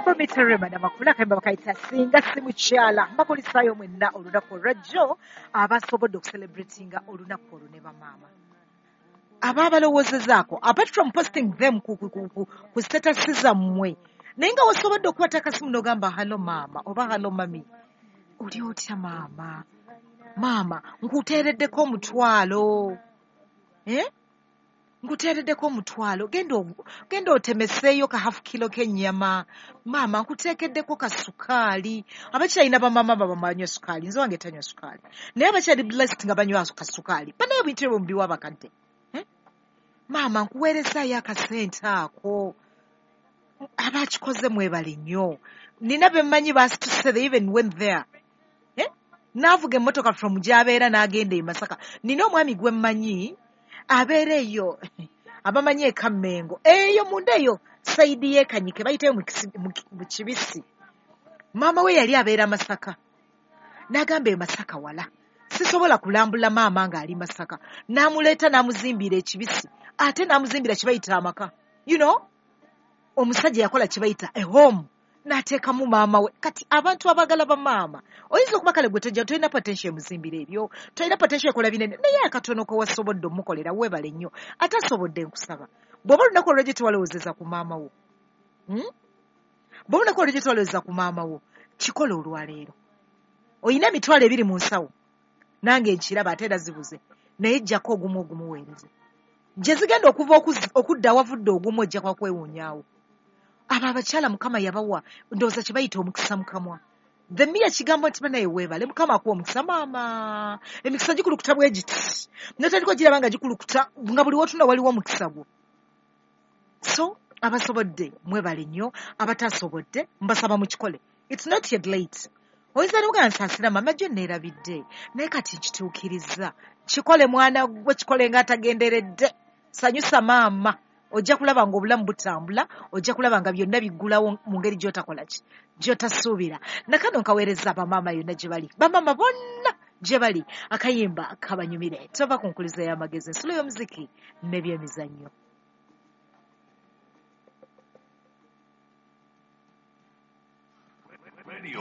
Bameterema namakula akayimba bakayita Singa Si Mukyala. Mbakulisaayo mwenna olunaku olwajjo abasobodde okucelebratinga olunaku olwo ne bamaama ababalowoozezaako, apart from posting them ku status zammwe, naye nga wasobodde okukwata akasimu n'ogamba, "Hello maama," oba, "Hello mummy, oli otya maama? Maama, nkuteereddeko 10,000, eh? Nkuteereddeko 10,000, genda otemeseeyo ka half kilo k'ennyama. Maama, nkuteekeddeko ka sukaali." Abakyalina bamaama banywa sukaali, nze wange tanywa sukaali, naye abakyali blessed nga banywa kasukaali banaye ebintu ebyo mubiwa abakadde, eh? Maama, nkuweerezaayo akasente ako. Abakikoze mwebale nnyo. Nina bemmanyi basituse, they even went there, eh? N'avuga emmotoka from gy'abeera n'agenda e Masaka. Nina omwami gwe mmanyi abeera eyo, abamanyi ekammengo eyo munda eyo side y'ekanyike bayitayo mu Kibisi. Maama we yali abeera Masaka, n'agamba, "E Masaka wala, sisobola kulambula maama ng'ali Masaka." N'amuleeta n'amuzimbira Ekibisi, ate n'amuzimbira kibayita amaka. Omusajja yakola kibayita a home, n'ateekamu maama we. Kati abantu abaagala bamaama, oyinza okuba kale gwe tojja, tolina potential emuzimbira ebyo, tolina potential ekola binene, naye akatono ke wasobodde omukolera, weebale nnyo. Ate asobodde, nkusaba, bw'oba olunaku olwajjo tewalowoozeza ku maama wo, Bw'oba olunaku olwajjo tewalowoozeza ku maama wo, kikola olwaleero. Oyina 20,000 mu nsawo, nange nkiraba, ate era zibuze, naye jjako ogumu ogumuweereze. Gye zigenda okuva okudda awavudde ogumu, ojja kwakwewuunyaawo. Abo abakyala Mukama yabawa, ndowooza kye bayita omukisa mukamwa. The mere kigambo nti, "Banaye weebale, Mukama akuwa omukisa maama," emikisa gikulukuta bwe giti, notandika ogiraba nga gikulukuta, nga buli wotuna waliwo omukisa gwo. So abasobodde mwebale nnyo, abatasobodde mbasaba mukikole. It's not yet late. Oyinza noga, "Nsaasira mama, jjo neerabidde, naye kati nkituukiriza." Kikole mwana gwe, kikole ng'atagenderedde. Sanyusa maama, ojja kulaba nga obulamu butambula, ojja kulaba nga byonna biggulawo mu ngeri gy'otakola ki, gy'otasuubira. Nakano nkaweereza bamaama yonna gye bali, bamaama bonna gye bali, akayimba kabanyumire. Tova ku nkuliza y'amagezi, ensulo y'omuziki n'ebyemizannyo. Radio.